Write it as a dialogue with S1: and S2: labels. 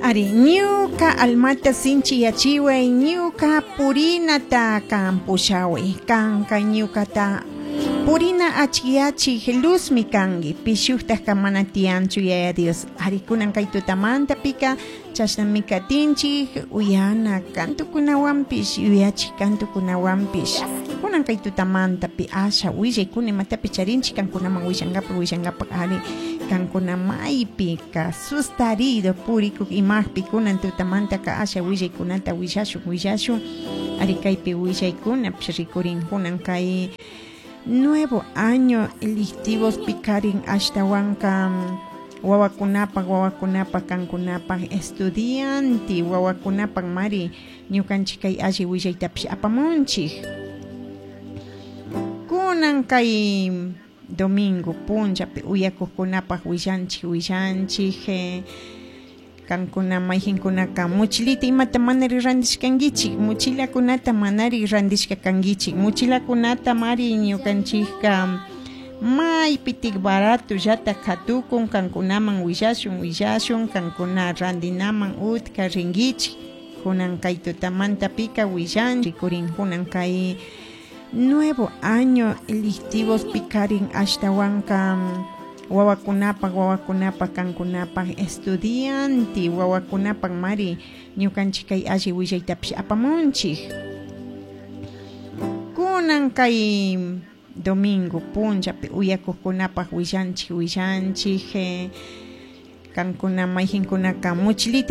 S1: Ari, ñuka almata sinchiyachiway, ñuka purinata kan pushaway, kanka ñukata purina achkiachik luzmi kanki, pishuktaj mana tiyanchu, Yaya Dios. Ari, kunan kay tutamantapika chashnami katinchik, uyana kantukunawanpish, yuyachik kantukunawanpish. Kunan kay tutamantapi asha willaykuna imatapi charinchik kankunaman willankapak willankapak. Ari, kankuna maypi ka sustarido purikuk imajpi, kunan tutamantaka asha willaykunata willashun willashun. Ari, kaypi willaykunapish rikurin kunan kay nuevo año lectivos pikarin ashtawanka wawakunapak wawakunapak kankunapak estudiante wawakunapak mari ñukanchik kay alli willaytapish apamunchik. Kunan kay domingo punllapi uyakuqkunapak willanchik willanchik, kankuna mayjinkunaka mochilita imata manari randishkankichik, mochilakunata manari randishka kankichik, mochilakunata mari ñukanchikka maypitik baratollata katukun, kankunaman willashun willashun, kankuna randinaman utka rinkichik. Kunan kay tutamantapika willan rikurin kunan kay nuevo año lectivos pikarin ashtawanka wawakunapak wawakunapak kankunapak estudiante wawakunapak mari ñukanchik kay alli willaytapish apamunchik. Kunan kay domingo punllapi uyakuqkunapak willanchik willanchik, kankuna mayjinkunaka mochilita.